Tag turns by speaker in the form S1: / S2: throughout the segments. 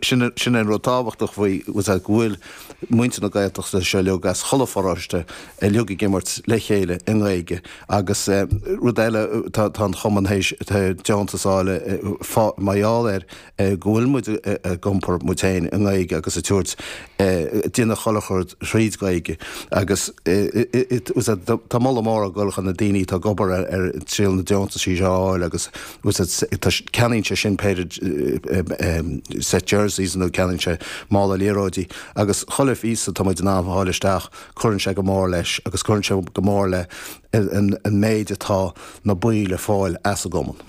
S1: sin sin é an rud tábhachtach faoi go bhfuil muintir na Gaeltachta seo uilig as chuile pharóiste uilig ag imirt le chéile i nGaeilge agus rud eile tá tá an chumann théis deontas a fháil mar gheall ar go bhfuil muid ag iompar muid féin i nGaeilge agus ag tabhairt déanamh chuile rud thríd Ghaeilge agus tá moladh mór ag dul chun na daoine atá ag obair ar triail na deontaisí seo a fháil agus ceannaíonn sé sin péire set jerseys nó ceannaíonn sé mála liathróidí agus chuile phíosa atá muid in ann a fháil isteach cuireann sé go mór leis agus cuireann sé go mór le an méid atá na baill ag fáil as an gcumann.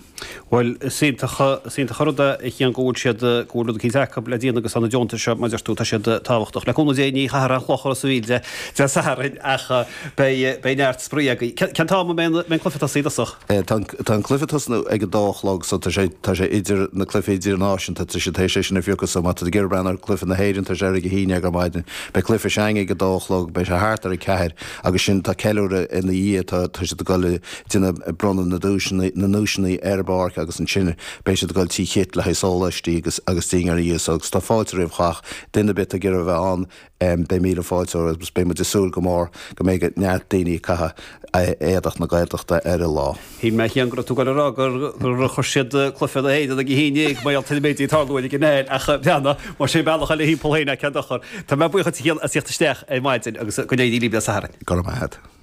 S2: Bhuel, is iontach, is iontach an rud é a Chian go bhfuil siad, go bhfuil rud eicínt acu le déanamh agus tá na deontais seo, mar a deir tú, tá siad tábhachtach. Le cúnamh Dé ní chaithfear aon chloch Ros an Mhíl Dé Sathairn ach beidh, beidh neart spraoi agaibh. Cén t-am a mbeidh an, mbeidh an cluiche ag tosaí i dtosach?
S1: Tá an, tá an cluiche ag tosnú ag a dó a chlog so tá sé, tá sé idir na cluichí idirnáisiúnta, tá siad théis é sin a phiocadh so má tá tú ag iarraidh breathnú ar cluiche na hÉireann tá sé ar ag a haon déag ar maidin. Beidh cluiche s'againn ag a dó a chlog, beidh sé thart ar a ceathair agus sin tá ceiliúradh ina dhiaidh, tá, tá siad ag dul a déanamh bronnadh na duaiseanna, na nduaiseanna ar an bpáirc agus ansin beidh siad ag dul Tigh Chit le haghaidh sóláistí agus agus dinnéar ina dhiaidh so agus tá fáilte roimh chách, duine ar bith atá ag iarraidh a bheith ann beidh míle fáilte rompu agus beidh muid ag súil go mór go mbeidh neart daoine ag caitheamh éadach na Gaeltachta ar an lá.
S2: Shíl mé a Chian go raibh tú ag dul a rá gur gur chuir siad cluiche na hÉireann ag a haon déag mar gheall ar na méidí ag tarlú ag an Aer ach breathnaigh mar sin bealach eile thimpeall féin cén dochar. Tá mé buíoch duit a Chian as theacht isteach ar maidin agus go n-éirí libh Dé Sathairn.
S1: Go raibh maith agat.